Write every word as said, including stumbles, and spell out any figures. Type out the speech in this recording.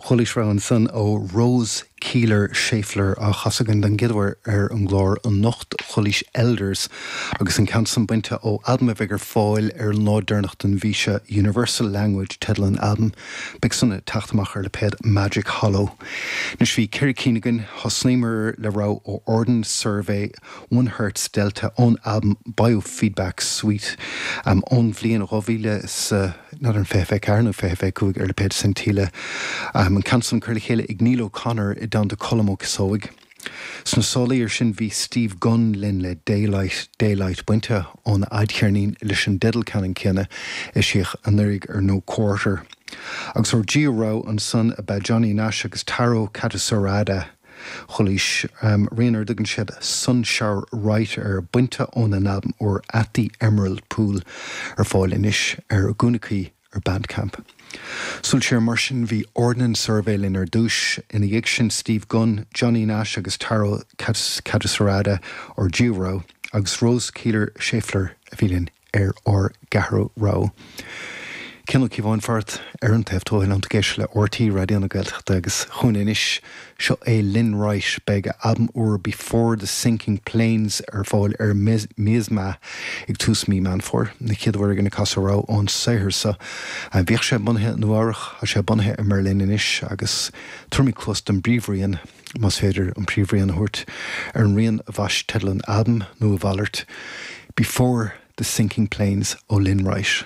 Chualaís rogha ansan ó Rose Keeler Schaeffler á chasadh againn den gcéad uair ar an gclár anocht chualaís Elders agus an ceann san bainte ó albam a bheidh ar fáil ar an lá deireanach den mhí seo Universal Language teideal an albaim beidh san ag teacht amach ar lipéad Magic Hollow. Anois bhí ceithre cinn againn thosnaíomar le rogha ó Ordnance Survey One Hertz Delta ón albam Biofeedback Suite um, ón bhliain dhá mhíle sa ná an fiche fiche ceathair nó fiche fiche cúig ar lipéad Scintilla. Um, an ceann san curtha le chéile ag Neil O'Connor i dteannta Colm Ó Cíosóig. Sna sála iar sin bhí Steve Gunn linn le Daylight Daylight bainte ón fhadcheirnín leis an dteideal ceannann céanna eisíodh anuraidh ar No Quarter. Agus ár dtríú rogha ansan ab ea Johnny Nash agus Taro Katasurada. Chualaís um, rian ar a dtugann siad Sunshower Right ar bainte óna n-albam úr At the Emerald Pool ar fáil anois ar gúnaí ar Bandcamp. Súil siar mar sin bhí Ordnance Survey linn ar dtús ina dhiaidh sin Steve Gunn, Johnny Nash agus Taro Katasurada ár dtríú rogha agus Rose Keeler Schaeffler a bhí linn ar ár gceathrú rogha. Cian Ó Cíobháin fart ar an taobh tuathail an géis le RTÉ Raidió na Gaeltachta agus chugainn anois seo é Lynn Wright beidh albam úr Before the Sinking Planes ar fáil ar Miasma ag tús mí Meán Fómhair na chéad uair againn ag casadh rogha ón saothar seo. Bhíodh sé bunaithe Nua-Eabhrac tá sé bunaithe i mBerlin anois agus tabharfaimid cluas don bpríomhrian más féidir an príomhrian a thabhairt ar an rian a bhaist teideal an albaim nó a mhalairt Before the Sinking Planes ó Lynn Wright.